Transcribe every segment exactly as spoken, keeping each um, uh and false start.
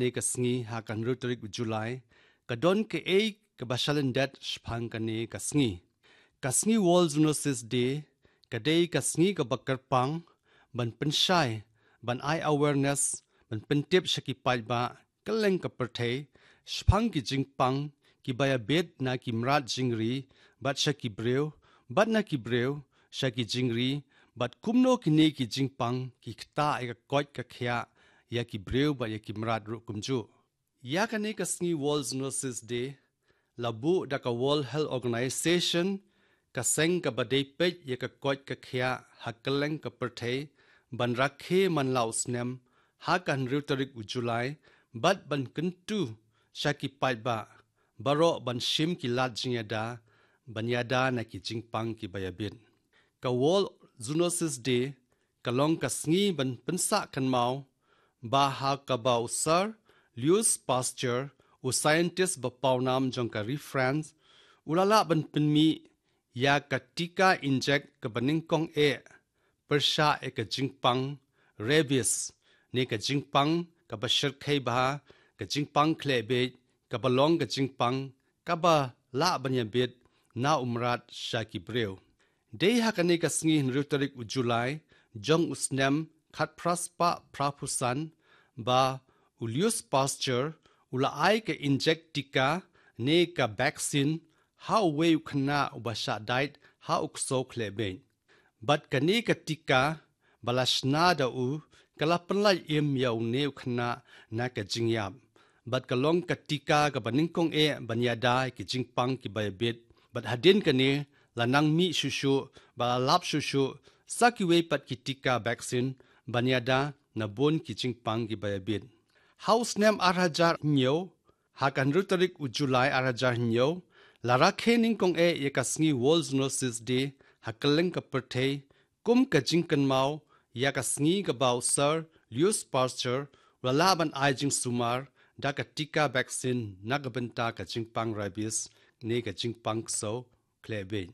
ne ka sngi ha ka hynriew tarik u July, ka don kaei kaba shalyndet shaphang kane ka sngi. Ka sngi World Zoonosis Day ka dei ka sngi kaba kyrpang ban pynshai, ban ai awareness, ban pyntip sha ki paidbah kylleng ka pyrthei shaphang ki jingpang kiba ïabit na ki mrad jingri, bad sha ki briew, bad na ki briew sha ki jingri, bad kumno kine ki jingpang ki ktah ïa ka koit ka khiah ïa ki briew bad ïa ki mrad ruh kumjuh. Ïa kane ka sngi World Zoonosis Day la buh da ka World Health Organization, ka seng kaba dei peit ïa ka koit ka khiah ha kylleng ka pyrthei, ban rakhe man la u snem ha ka hynriew tarik u July, bad ban kyntu sha ki paidbah baroh ban shim ki lad jingïada ban ïada na ki jingpang kiba ïabit. Ka World Zoonosis Day ka long ka sngi ban pynsah kynmaw ba ha kaba u Sir Louis Pasteur, u scientist ba pawnam jong ka ri France, u la lah ban pynmih ïa ka tika injek kaba nyngkong eh pyrshah ïa ka jingpang rabies, ne ka jingpang kaba shyrkhei bha, ka jingpang khleh biej, kaba long ka jingpang kaba lah ban ïabit na u mrad sha ki briew. Dei ha kane ka sngi hynriew tarik u July jong u snem khatphra spah phraphew san ba u Louis Pasteur u la ai ka injek tika ne ka vaccine ha uwei u khynnah uba shah dait ha u ksew khleh biej. Bad kane ka tika ba la shna da u ka la pynlait im ïa une u khynnah na ka jingïap. Bad ka long ka tika kaba nyngkong eh ban ïada ïa ki jingpang kiba ïabit. Bad hadien kane la nang mih shuh shuh, ba la lap shuh shuh sa kiwei pat ki tika vaccine ban ïada na bun ki jingpang kiba ïabit. Ha u snem ar hajar hynñiew, ha ka hynriew tarik u July ar hajar hynñiew, la rakhe nyngkong eh ïa ka sngi World Zoonosis Day ha kylleng ka pyrthei, kum ka jingkynmaw ïa ka sngi kaba u Sir Louis Pasteur u la lah ban ai jingsumar da ka tika vaccine na ka bynta ka jingpang rabies, ne ka jingpang ksew khleh biej.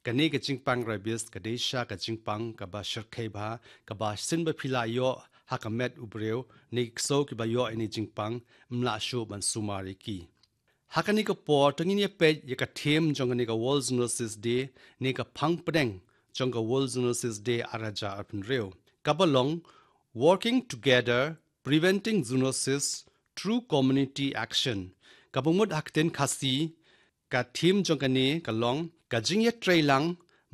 Kane ka jingpang rabies ka dei sha ka jingpang kaba shyrkhei bha, kaba shisien ba phi la ïoh ha ka met u briew, ne ki ksew kiba ïoh ïa kane ka jingpang, ym lah shuh ban sumar ïa ki. Ha kane ka por to ngin ïa peit ïa ka theme jong kane ka World Zoonosis Day, ne ka phang pdeng jong ka World Zoonosis Day ar hajar arphew hynriew, kaba long Working Together, Preventing Zoonosis Through Community Action. Kaba mut ha ka ktien Khasi, ka theme jong kane ka long ka jingïatreilang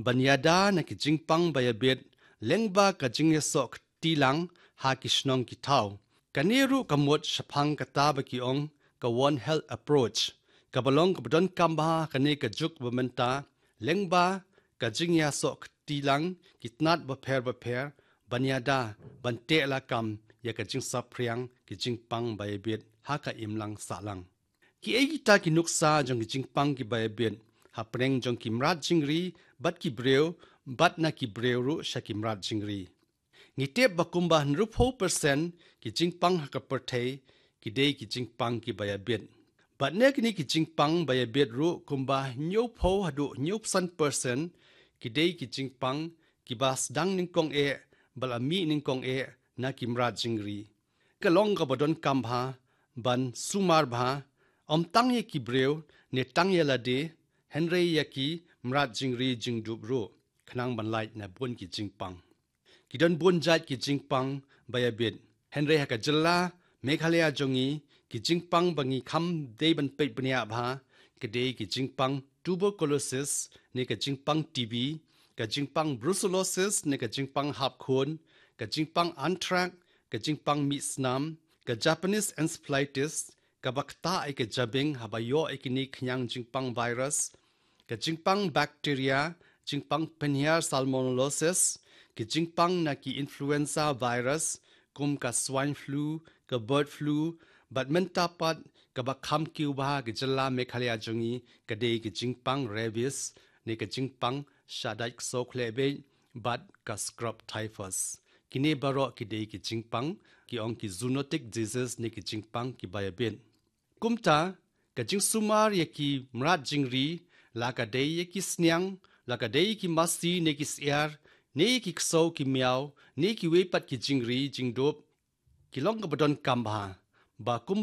ban ïada na ki jingpang ba ïabit lyngba ka jingïasoh kti lang ha ki shnong ki thaw. Kane ruh ka mut shaphang kata ba ki ong ka One Health Approach, kaba long kaba donkam bha ha kane ka juk ba mynta, lyngba ka jingïasoh kti lang ki tnat bapher bapher ban ïada, ban teh lakam ïa ka jingsaphriang ki jingpang ba ïabit ha ka imlang sahlang. Kiei kita ki nuksa jong ki jingpang kiba ïabit hapdeng jong ki mrad jingri bad ki briew, bad na ki briew ruh sha ki mrad jingri? Ngi tip ba kumba hynriewphew percent ki jingpang ha ka pyrthei ki dei ki jingpang kiba ïabit. Bad na kine ki jingpang ba ïabit ruh kumba hynñiewphew haduh hynñiewphew san percent ki dei ki jingpang kiba sdang nyngkong eh, ba la mih nyngkong eh na ki mrad jingri. Ka long kaba donkam bha ban sumar bha, ym tang ïa ki briew ne tang ïa lade, hynrei ïa ki mrad jingri jingdup ruh, khnang ban lait na bun ki jingpang. Ki don bun jait ki jingpang ba ïabit, hynrei ha ka jylla Meghalaya jong ngi, ki jingpang ba ngi kham dei ban peit bniah bha ka dei ki jingpang tuberculosis ne ka jingpang T B, ka jingpang brucellosis ne ka jingpang hap khun, ka jingpang anthrax, ka jingpang mih snam, ka Japanese encephalitis, kaba ktah ïa ka jabieng haba ïoh ïa kine khñiang jingpang virus, ka jingpang bacteria, jingpang pynhiar salmonellosis, ka jingpang na ki influenza virus, kum ka swine flu, ka bird flu, bad mynta pat kaba kham kiew bha ha ka jylla Meghalaya jong ngi ka dei ka jingpang rabies, ne ka jingpang shah dait ksew khleh biej, bad ka scrub typhus. Kine baroh ki dei ki jingpang ki ong ki zoonotic diseases ne ki jingpang kiba ïabit. Kumta, ka jingsumar ïa ki mrad jingri, la ka dei ïa ki sniang, la ka dei ïa ki masi ne ki syiar, ne ïa ki ksew ki miaw, ne kiwei pat ki jingri jingdup, ki long kaba donkam bha. ba kum